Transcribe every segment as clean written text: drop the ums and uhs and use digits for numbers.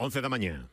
11 da mañá.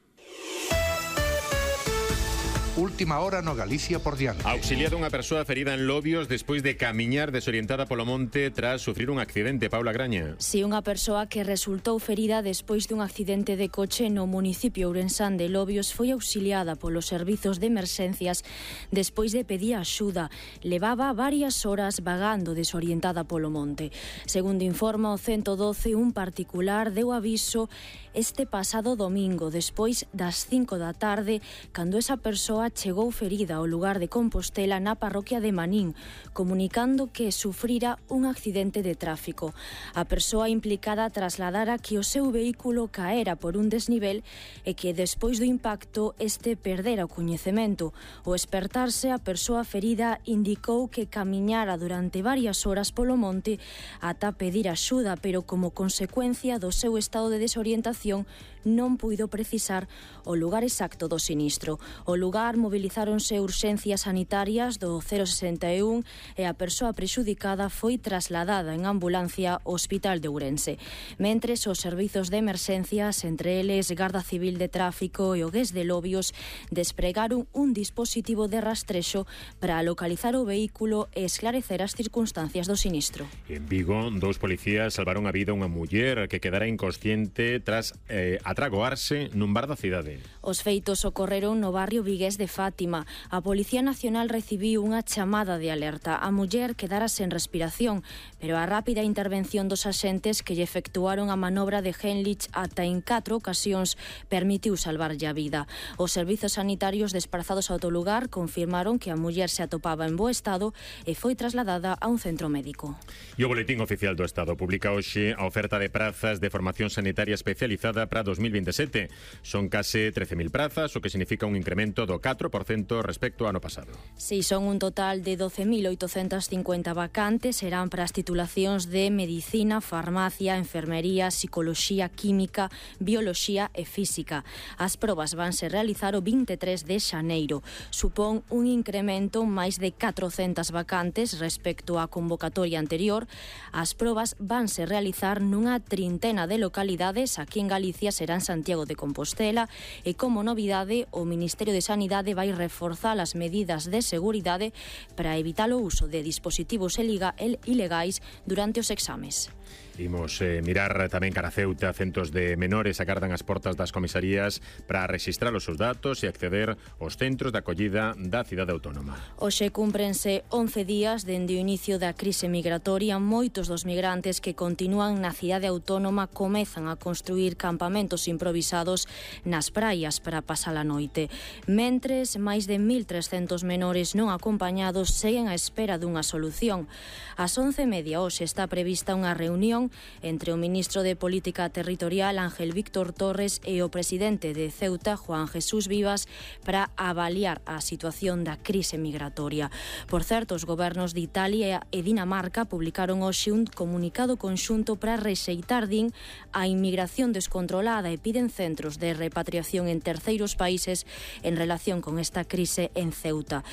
Última hora no Galicia por diante. Auxiliada unha persoa ferida en Lobios despois de camiñar desorientada polo monte tras sufrir un accidente. Paula Graña. Si, unha persoa que resultou ferida despois dun accidente de coche no municipio ourensán de Lobios foi auxiliada polos servizos de emerxencias despois de pedir axuda. Levaba varias horas vagando desorientada polo monte. Segundo informa o 112, un particular deu aviso este pasado domingo, despois das 5 da tarde, cando esa persoa chegou ferida ao lugar de Compostela na parroquia de Manín, comunicando que sufrira un accidente de tráfico. A persoa implicada trasladara que o seu vehículo caera por un desnivel e que despois do impacto este perdera o coñecemento. Ao espertarse, a persoa ferida indicou que camiñara durante varias horas polo monte ata pedir axuda, pero como consecuencia do seu estado de desorientación non puido precisar o lugar exacto do sinistro. O lugar movilizáronse urxencias sanitarias do 061 e a persoa prexudicada foi trasladada en ambulancia ao Hospital de Ourense. Mentres, os servizos de emerxencias, entre eles Garda Civil de Tráfico e o GES de Lobios, despregaron un dispositivo de rastrexo para localizar o vehículo e esclarecer as circunstancias do sinistro. En Vigo, 2 policías salvaron a vida a unha muller que quedara inconsciente tras atragoarse nun bar da cidade. Os feitos ocorreron no barrio vigués de Fátima. A Policía Nacional recibiu unha chamada de alerta. A muller quedara sen respiración, pero a rápida intervención dos axentes que lle efectuaron a manobra de Heimlich ata en 4 ocasións permitiu salvarlle a vida. Os servizos sanitarios desprazados ao lugar confirmaron que a muller se atopaba en bo estado e foi trasladada a un centro médico. E o Boletín Oficial do Estado publica hoxe a oferta de prazas de formación sanitaria especializada para 2027. Son case 13.000 prazas, o que significa un incremento do 4% respecto ao ano pasado. Si, son un total de 12.850 vacantes, serán para as titulacións de Medicina, Farmacia, Enfermería, Psicoloxía, Química, Bioloxía e Física. As probas vanse realizar o 23 de xaneiro. Supón un incremento máis de 400 vacantes respecto á convocatoria anterior. As probas vanse realizar nunha trintena de localidades. Aquí en Galicia serán Santiago de Compostela e, como novidade, o Ministerio de Sanidade vai reforzar as medidas de seguridade para evitar o uso de dispositivos ilegais durante os exames. Imos mirar tamén cara a Ceuta. Centos de menores agardan as portas das comisarías para registrar os seus datos e acceder aos centros de acollida da cidade autónoma. Hoxe cúmprense 11 días dende o inicio da crise migratoria. Moitos dos migrantes que continúan na cidade autónoma comezan a construir campamentos improvisados nas praias para pasar a noite. Mentres, máis de 1.300 menores non acompañados seguen á espera dunha solución. Ás 11:30 hoxe está prevista unha reunión entre o ministro de Política Territorial, Ángel Víctor Torres, e o presidente de Ceuta, Juan Jesús Vivas, para avaliar a situación da crise migratoria. Por certo, os gobernos de Italia e Dinamarca publicaron hoxe un comunicado conxunto para rexeitar, din, a inmigración descontrolada e piden centros de repatriación en terceiros países en relación con esta crise en Ceuta.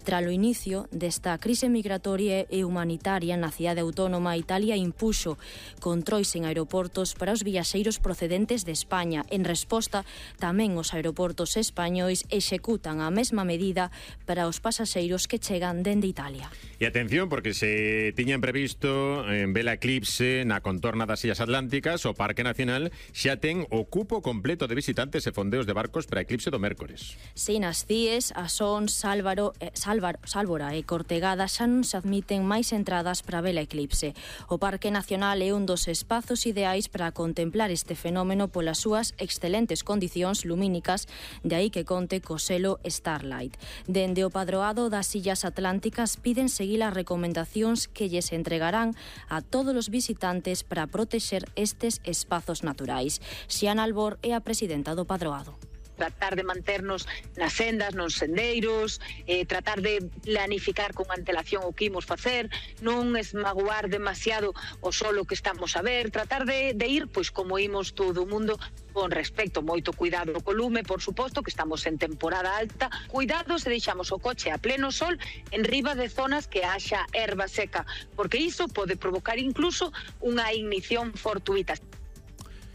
Tras o inicio desta crise migratoria e humanitaria na cidade autónoma, Italia impuxo controis en aeroportos para os viaxeiros procedentes de España. En resposta, tamén os aeroportos españois executan a mesma medida para os pasaxeiros que chegan dende Italia. E atención, porque se tiñan previsto vela eclipse na contorna das Illas Atlánticas, o Parque Nacional xa ten o cupo completo de visitantes e fondeos de barcos para a eclipse do mércores. Si, nas CIES, Asón, Sálvora e Cortegada xa non se admiten máis entradas para vela eclipse. O Parque Nacional é un dos espazos ideais para contemplar este fenómeno polas súas excelentes condicións lumínicas, de aí que conte co selo Starlight. Dende o Padroado das Illas Atlánticas piden seguir as recomendacións que lles entregarán a todos os visitantes para protexer estes espazos naturais. Xiana Albor é a presidenta do Padroado. Tratar de manternos nas sendas, nos sendeiros, tratar de planificar con antelación o que imos facer, non esmaguar demasiado o solo que estamos a ver, tratar de ir, pois como imos todo o mundo, con respecto, moito cuidado co lume, por suposto, que estamos en temporada alta, cuidado se deixamos o coche a pleno sol en riba de zonas que haxa erva seca, porque iso pode provocar incluso unha ignición fortuita.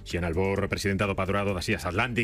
Xiana Albor, presidenta do Padroado das Illas Atlánticas.